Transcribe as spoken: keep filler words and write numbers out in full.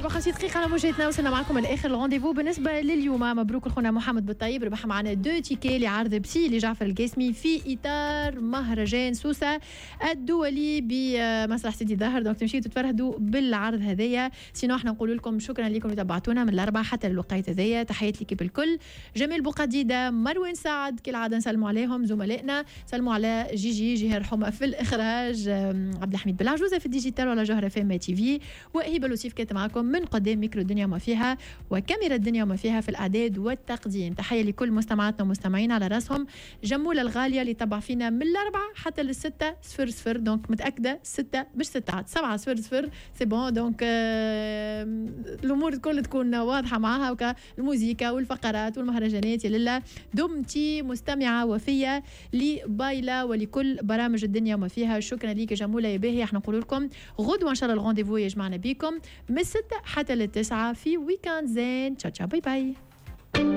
وخمسين دقيقة على موجاتنا، وصلنا معكم لاخر ال rendez-vous بالنسبة لليوم. مبروك لخونا محمد بالطيب، ربح معنا deux tickets لعرض بسي لجعفر القاسمي في اطار مهرجان سوسة الدولي بمسرح سيدي ظاهر. donc تمشيو تتفرهدوا بالعرض هذايا. sinon احنا نقول لكم شكرا لكم اللي تبعتونا من الاربعة حتى للوقيت هذايا. تحيات l'équipe الكل، جميل بوقديده، مروان سعد، كالعادة نسلموا عليهم زملائنا، سلموا على جيجي جهر حمى في الاخراج، عبد الحميد بالعجوزه في ال digital ولا جوهره اف ام تي في، وهبه لوسيف كانت معكم من قدام ميكرو الدنيا وما فيها وكاميرا الدنيا وما فيها في الاعداد والتقديم. تحية لكل مستمعاتنا ومستمعينا، على راسهم جموله الغالية اللي تبع فينا من الاربعة حتى للستة صفر صفر. donc متاكدة ستة مش ستة، سبعة صفر صفر، c'est bon. donc آه الامور الكل تكون واضحة معاها، وكا الموزيكا والفقرات والمهرجانات. يا لله، دمتي مستمعه وفيه لبايلا ولكل برامج الدنيا وما فيها. شكرا ليك جموله يا باهي. احنا نقول لكم غدوه ان شاء الله ال rendez-vous يجمعنا بكم من الستة حتى للتسعة في week-end زين. ciao ciao، bye bye.